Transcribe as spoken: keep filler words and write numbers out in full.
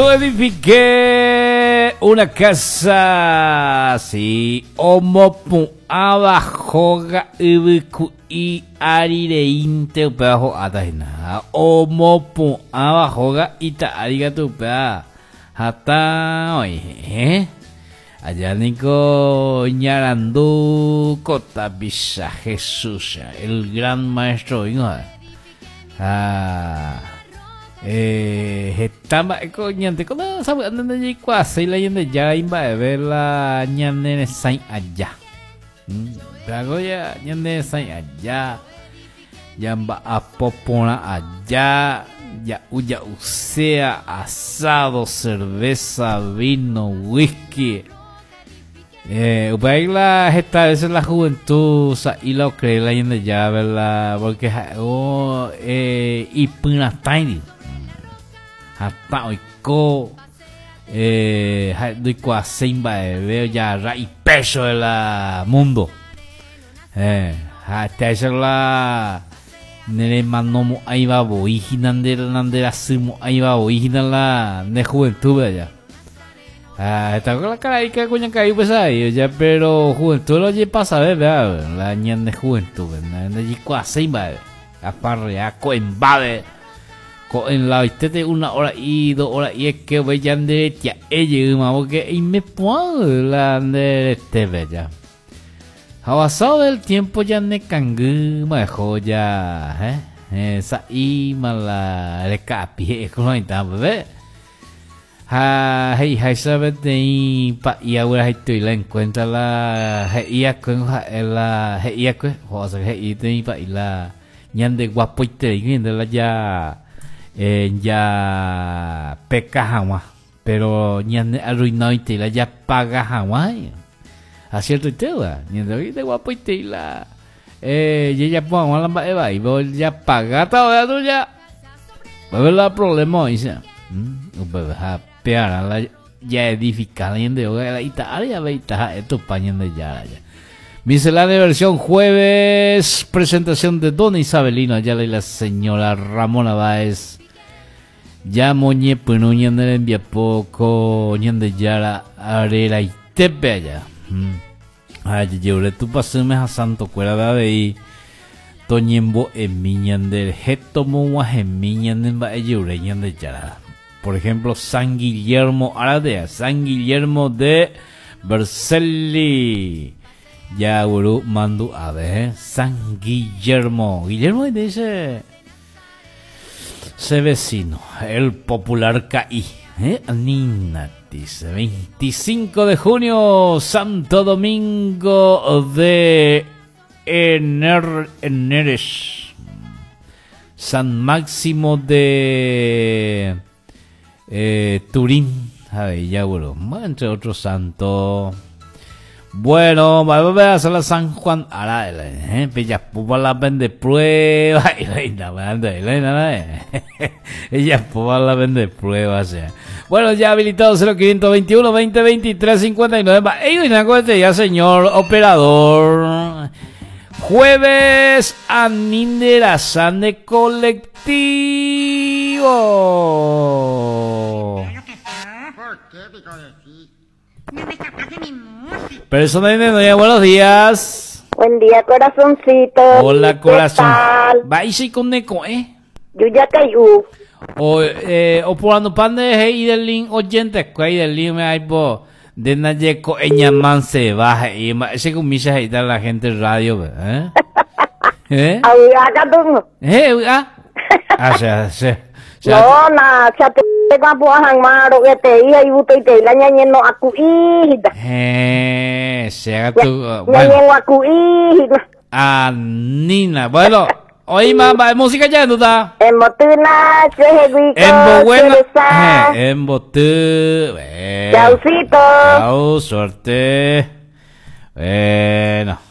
Yo edifiqué una casa, sí, omopu'ãva hóga yvyku'i árireínte upéva ho'áta hína. Omopu'ãva hóga ita ári katu upéva hatã oĩ. Allá niko iñarandu ko tapicha Jesús, el gran maestro oĩva. Ha eh, heta mba'éko ñandéko sapy'ánte ndajaikuaaséi la Ñandejára imba'eve la ñaneresãi aja. Upévako ñaneresãi aja, jamba'apo porã aja, ja'u ja'uséa, asado, cerveza, vino, whisky. Eh, upéi la heta veces la juventud sa'i la ocree la Ñandejára la porque ha'e eh, ipyratãiri hatã oiko eh, ha'e ndoikuaaséi mba'eve ojagarra ipecho de la mundo. Eh, ha'etéicha la neremanomo'ãiva voi hína nde nanderasymo'ãiva voi hína la nde juventud allá. Ah, esta la caraíca kuñakarai pues ahí, ya, pero juventud lo ojepasave, vea, la ñande juventud, ndajaikuaaséi mba'eve. Aparrea ko'ẽmbáve, ko'ẽlaoitéte una hora y dos horas y es que ve ñanderetia'e jeýma porque eimepu'ã la nderetépe ya. Ha pasado el tiempo ya nekangýma eho ya, eh, eh, sa'íma la reka'api he'éko bebé. Ha he'iháicha peteĩ pa'i aguerahaitoi la encuentra la he'iakue ha'e la he'iakue osea he'i peteĩ pa'i la ñandeguapoiterei la ya eh, ya peka hag̃ua pero ñane arruinadoitei la japaga hag̃ua ha ciertoitéva ñande guapoitei la eh, jajapo hag̃ua la mba'e vai japagáta oveatu ya va la problema oĩcha upépe ha pearã la jaedificar la ñande róga la ita ári avei taha'e Tupã Ñandejára ya. Miscelánea versión jueves, presentación de Don Isabelino Ayala y la señora Ramona Báez. Ya moñepyrũ ñane rembiapo ko Ñandejára reraitépe allá. Ha jajerure Tupãsýme ha santokuéra avei toñembo'emi ñanderehe tomog̃uahẽmi ñane mba'ejerure Ñandejára. Por ejemplo, San Guillermo Aradea, San Guillermo de Vercelli. Ya guru mandu a ver, San Guillermo. Guillermo dice ese vecino, el popular Caí, ¿eh? Nina dice, veinticinco de junio, Santo Domingo de Ener, Eneres, San Máximo de eh, Turín, a ver, ya bueno, entre otros santos. Bueno, vamos a hacer la San Juan ahora, eh, Bella la vende prueba y la ella la vende prueba, sea. Bueno, ya habilitado cero quinientos veintiuno veinte veintitrés cincuenta y nueve. Ya, señor operador. Jueves Aninderasan de colectivo. Persona de buenos días. Buen día, corazoncito. Hola, corazón. Va con neko, eh. Yo ya caí. O eh o por ando pan de hey del link oyente, cuál del link me hay bo de naye ko eñaman se baja y ese con misa ahí la gente radio, ¿eh? ¿Eh? ¿Eh? Ah. Ah, sea, sea. No, na, chate guapo maro que te hija y buto y te la ñañe no acuí. Eh, sea tu bueno. Acuí. Ah, Nina. Bueno, oí mamá, música ya no está. En botuna, En buena. En botú. Chaucito. Chau, suerte. Bueno.